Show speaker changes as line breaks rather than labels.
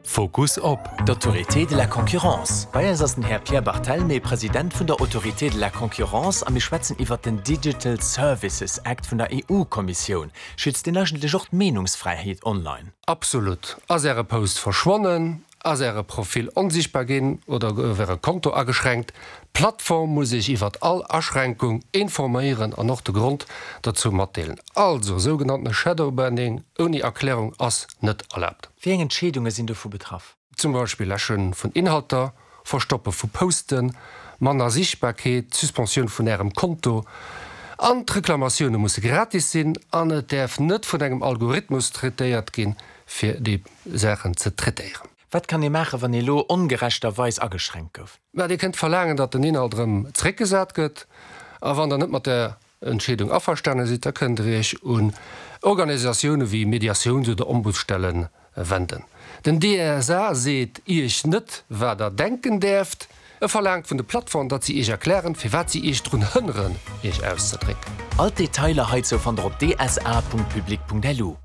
Fokus op.
D'Autorité de la concurrence. Bei eis ass den Här Pierre Barthelmé, President vun der Autorité de la concurrence a mir schwätzen iwwert den Digital Services Act vun der EU-Kommissioun. Schützt deen eigentlech och d'Meenungsfräiheet online?
Absolut. Ass Äre Post verschwonnen? Ass Äre Profil onsichtbar ginn oder gouf Äre Konto ageschränkt? D'Plattform muss Iech iwwert all Aschränkung informéieren an och de Grond dozou matdeelen. Also, sougenanntene Shadowbanning ouni Erklärung ass net erlaabt.
Wéi eng Entscheedunge sinn dovu betraff?
Zum Beispill Läsche vun Inhalter, Verstoppe vu Posten, manner Sichtbarkeet, d'Suspensioun vun Ärem Konto. An d'Reklamatioune musse gratis sinn an et däerf net vun engem Algorithmus traitéiert ginn, fir déi Saachen ze traitéieren.
Wat kann ee maachen, wann ee lo ongerechterweis ageschränkt gouf?
Mä Dir kënnt verlaangen, datt den Inhalt erëm zeréckgesat gëtt. A wann Der net mat där Entscheedung averstane sidd, da kënnt Der Iech un Organisatioune wéi Mediatiouns oder Ombudsstelle wenden. Den DSA seet Iech net, wat Der denken däerft. E verlaangt vun de Plattformen, datt si Iech erklären, firwat si Iech drun hënneren, Iech auszedrécken.
All d'Detailer heizou fannt Der op dsa.public.lu.